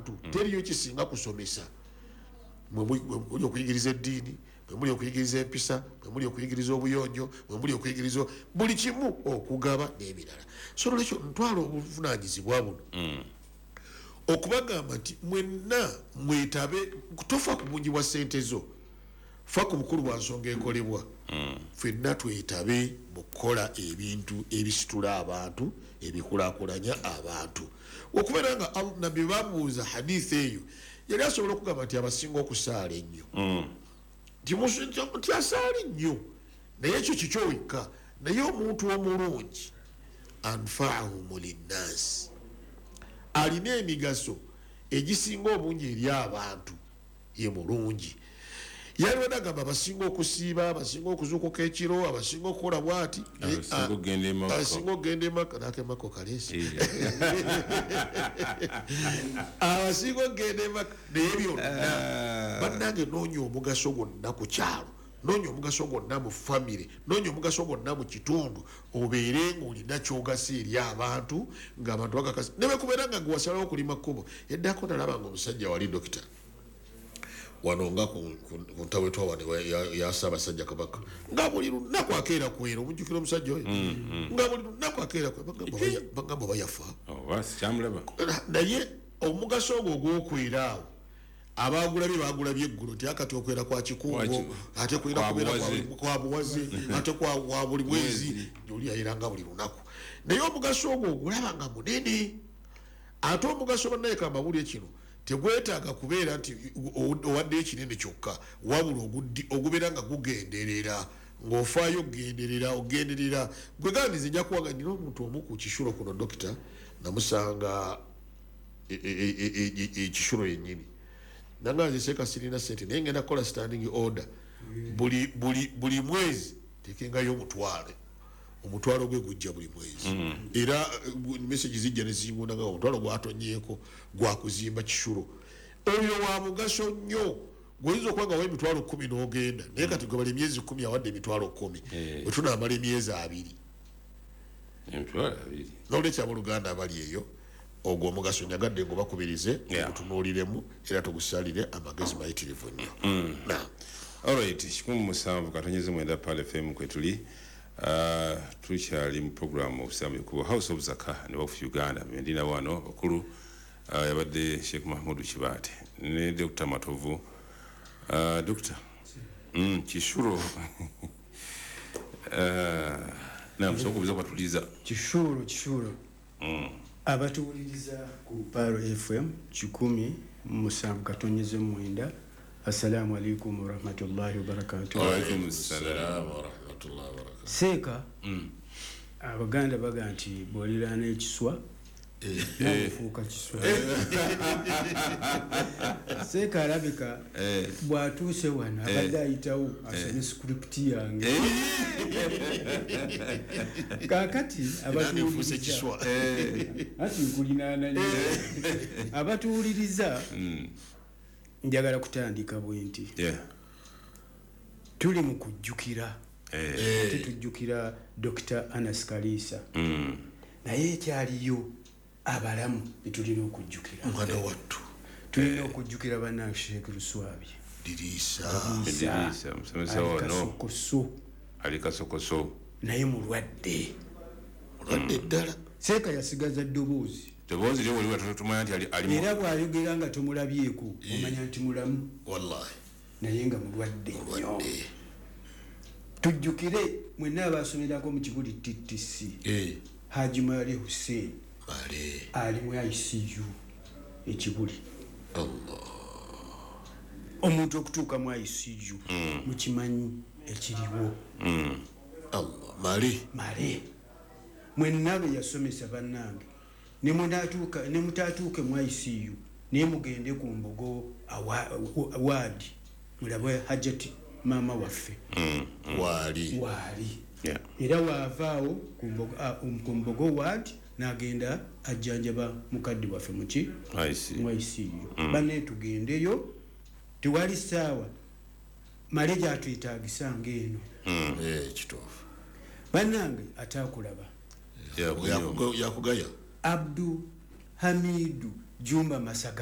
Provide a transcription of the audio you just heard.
abantu, teriyo kisinga kusomesa. Mwe muli okuyigiriza eddiini, mwe muli okuyigiriza empisa, mwe muli okuyigiriza obuyonjo, mwe muli okuyigiriza buli kimu, okugaba n'ebirala. So nolwekyo ntwala obuvunaanyizibwa buno okubagamba nti mwenna mwetabe. Tofa ku bungi bwa ssente zo, fa ku bukulu bwa nsonga ekolebwa. Ffenna twetabe mu kukola ebintu ebisitula abantu, ebikulaakulanya abantu. Okubeera nga Nabbi bamubuuza hadith eyo, yali asobola okugamba nti abasinga okusaala ennyo, nti asaala ennyo, naye ekyo kikyo wekka. Naye omuntu omulungi, anfaahum linnasi, alina emigaso egisinga obungi eri abantu, ye mulungi. Yaliwo nagamba abasinga okusiiba, abasinga okuzuukuka ekiro, abasinga okukola bwati, abasinga okugenda e Makka. Abasinga okugenda emaka nakemaka okaleesi, abasinga okugenda emaka. Naye byonna, bannange, noonya omugaso gwonna ku kyalo, noonya omugaso gwonna mu famire, noonya omugaso gwonna mu kitundu, obeere ngaolina kyogasa eri abantu, ngaabantu bakakasa. Nebekubeera nga gwewasalawo okulima kkubo. Eddako nalaba nga omusajja wali dokita wano nga ku ntawetwa wano ya Ssaabasajja Kabaka, nga buli lunaku akeera kwera. Omujjukira omusajja oyo? Nga buli lunaku akeera kwera. Bagamba oba yafa. Oba sikyamulaba. Naye omugaso ogwo ogwokwera awo, abagulabye bagulabye eggulo nti akati okwera kwa kikungo, ate kulina kwa kubeera buwaze. Kwa buwaze, ate kwa buli mwezi. Mwezi. Oli yayeranga buli lunaku, naye omugaso ogwo ogulaba nga munene. Ate omugaso, bannaye, kambabulye kino, tegwetaaga kubeera nti owaddeyo ekinene kyokka, wabula ogubeera nga gugenderera, ng'ofaayo okugenderera, ogenderera gwe gandize. Nja kuwaga nina omuntu omu ku Kisulo kuno, dokita, namusanga ekisulo yennyini, nanga nze seeka sirina sente, naye ngenda kukola standing order, buli mwezi tekengayo omutwalo. Omutwalo gwe gujja buli mwezi, era message zijja nezingunda nga omutwalo gwatonyeeko gwakuzimba Kisulo. Oyo wa mugaso nnyo. Gwoyinza okuba nga wa 100,000 n'ogenda, naye kati gwe bali emyezi 10 awadde 100,000, bwe tunaamala emyezi 20, 20,000. Nolwekyo abooluganda abali eyo, ogwo omugaso njagadde ngubakubirize, tugutunuuliremu era tugusalire amagezi mayitirivu nnyo. Naam. Alright, 107.9 Pearl FM kwetuli. Tukyali mu program Obusiraamu Ekubo, House of Zaka ne Waqf Uganda. Bendina wano bakulu, yabadde Sheikh Mahmudu Kibaate ne Dr Matovu. Dr Kisulo, namusobola okubuuza kwatuliza. Kisulo, Kisulo. Abatuwuliriza ku Pearl FM 107.9, assalamu alaikum warahmatullahi wabarakatuh. Waalaikum salam. Warahmatullahi wabarakatuh. Seeka, Abaganda baga nti bw'oliraana ekiswa nafuuka kiswa. Seeka alabika bw'atuuse wano abadde ayitawo asome script yange. Kaakati Nange nfuuse abatuwuliriza, kiswa. Ati nkulinaana nnyo. Abatuwuliriza, njagala kutandika bwe nti tuli mu kujjukira, ate tujjukira Dr Anas Kaliisa, naye ekyaliyo abalamu betulina okujjukira. Mwana wattu. Tulina okujjukira bannange Sheekh Luswabye. Diriisa. Diriisa, musomesa Ali wano. Kasokoso. Ali kasokoso. Naye mulwadde. Mulwadde ddala. Seeka yasigaza ddoboozi. Ddoboozi lyo waliwo tumanya nti ali Era bw'ayogera nga tomulabyeko omanya nti mulamu, Wallahi. naye nga mulwadde nnyo. Mulwadde. Tujjukire mwenna abasomerako mu Kibuli TTC, Haji Male Hussein. Male. Ali mu ICU Ekibuli. Allah. Omuntu okutuuka mu ICU, mukimanyi ekiriwo. Allah, Male. Male, mwenna be yasomesa, bannange, ne mutatuuke mu ICU, naye mugende ku Mbogo ward mulabe Hajati maama waffe. Waali. Waali. Era waavaawo ku Mbogo ward n'agenda ajjanjaba mukadde waffe muki ICU. Mu ICU. Banne, tugendeyo, tewali ssaawa male gyatwetagisa ngaeno. Kituufu. Bannange, ataakulaba. Yakunyoma. Yakugaya. Abdu Hamidu Jumba Masaga.